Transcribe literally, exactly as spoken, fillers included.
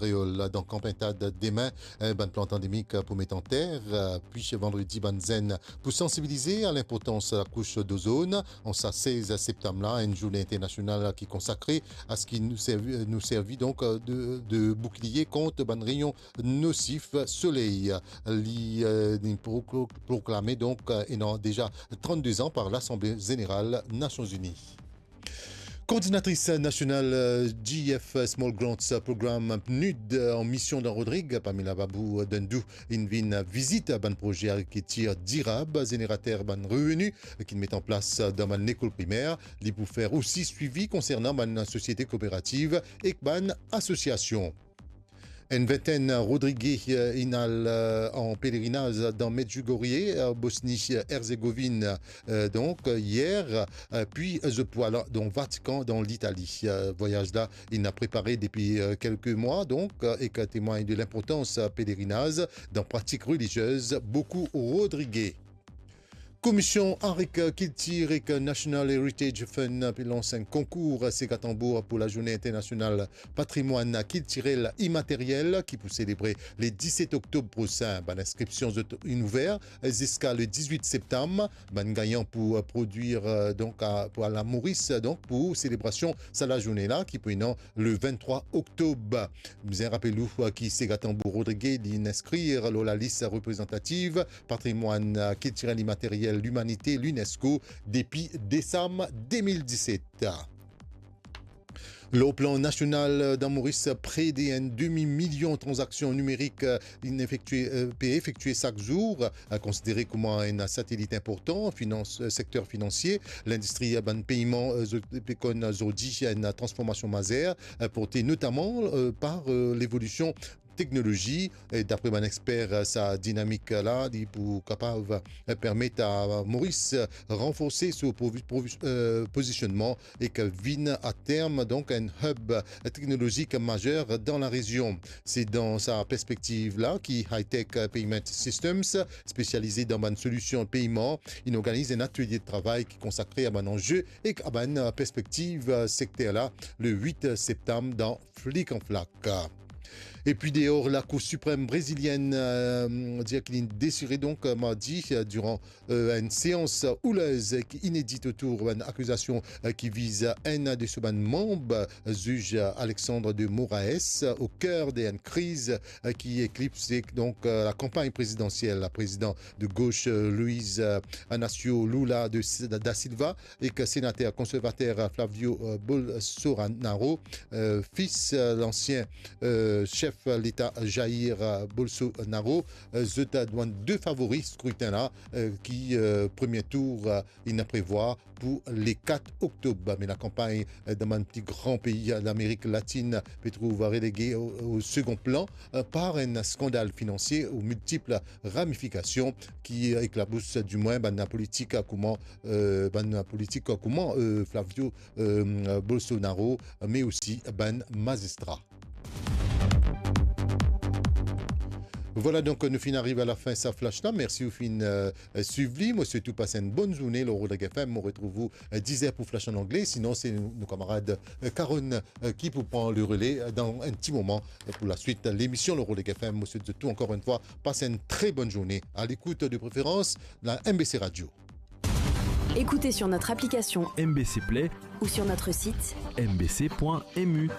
Kreol. Dan Kan Pintad demin, eh, bann plant andemik pou met anter, eh, pi vandredi bann zenn pou sansibilize a linportans lakous dozone. An sa sez septam la, enn zourne internasional ki konsakre a seki nou servi, nou servi donk de, de boukliye kont bann reyon nosif soley. Li, eh, li pro-, proklame donk, eh, ena deza trannde zan par Lasanble Zeneral Nasion Zini. Koordinatris nasional, eh, G F Small Grants Program, PNUD, eh, an mision dan Rodrig, Pamela Babou Dendou, inn vinn vizit bann proze agrikiltir dirab, zenerater bann reveni ki met an plas dan bann lekol primer. Li pou fer osi swivi konsernan bann sosiete kooperativ ek bann asosiasion. Enn vintenn Rodrige, eh, inn al, eh, an pelerinaz dan Medjugorje, eh, Bosni, eh, Erzegovinn, eh, donk, eh, yer, eh, pi, eh, zot pou al dan Vatikan, dan Litali. Eh, vwayaz la, inn prepare depi, eh, kelke mwa, donk, eh, e ki temwagn de linportans, eh, pelerinaz dan pratik reliziez boukou Rodrige. Komisyon Agrikiltir ek National Heritage Fund pe lans enn konkour Sega Tambour pou Lazourne Internasional Patrimwann Kiltirel Imateryel ki pou selebre le diset oktob prosin. Bann inskripsion zot inn ouver ziska le dizwit septam. Bann gagnan pou prodwir, donk, a, pou al a Moris, donk, pou selebrasion sa lazourne la ki pou ena le venntrwa oktob. Bizin rapel ou ki Sega Tambour Rodrige, li inn inskrir lor lalis reprezantativ patrimwann kiltirel imateryel limanite, l'UNESCO, depi desam de mil diset. Lor plan nasional, dan Moris, pre de enn demi milion tranzaksion nimerik, eh, inn efektie, eh, pe efektie sak zour, eh, konsidere kouma enn satelit inportan, finans, eh, sekter finansie, lindistri, eh, bann peyman, eh, zo-, pe konn zordi enn transformasion mazer, eh, porte notaman, eh, par, eh, levolision teknolozi. E dapre bann exper, sa dinamik la, li pou kapav, eh, permet a Moris ranforse so provi-, provi-, eh, pozisionnman ek vinn a term, donk, enn hub teknolozik mazer dan larezion. Se dan sa perspektiv la ki Hightech Payment Systems, spesialize dan bann solision peyman, inn organiz enn atelie de travay ki konsakre a bann anze ek a bann perspektiv sekter la, le wit septam dan Flik an Flak. Epi deor, Lakour Siprem Brezilienn, eh, dir ki li desire donk, eh, mardi, eh, diran, eh, enn seans houlez ki inedit otour bann akizasion, eh, ki viz enn de so bann manb, eh, ziz Alexandre de Moraes, eh, o ker de enn kriz, eh, ki eklipse donk, eh, lakanpagn prezidansiel. Prezidan de gos, eh, Luiz, eh, Inacio Lula de S-, da Silva, ek senater konservater Flávio, eh, Bolsonaro, eh, fis, eh, lansien, eh, sef leta Jair, eh, Bolsonaro, eh, zot dan de favori skritin la, eh, ki, eh, premie tour, eh, inn prevwar pou le kat oktob. Me lakanpagn, eh, dan bann pli gran pei Lamerik Latinn pe trouv relege o, o segon plan, eh, par enn skandal finansie o miltip ramifikasion ki, eh, eklabous dimwin bann politik kouma, eh, bann politik kouma, eh, Flávio, eh, Bolsonaro, me osi bann mazistra. Vwala, donk, nou finn ariv a lafin sa flash la. Mersi ou finn, eh, swiv li. Mo swet ou pas enn bonn zourne lor Rodrig F M. Mo retrouv ou, eh, diz er pou flash an angle. Sinon, se nou, nou kamarad, eh, Karon, eh, ki pou pran le rele, eh, dan enn ti moman, eh, pou laswit lemision lor Rodrig F M. Mo swet zot tou ankor enn fwa pas enn tre bonn zourne. A lekout de preferans la M B C Radio. Écoutez sur notre application M B C Play ou sur notre site M B C point M U.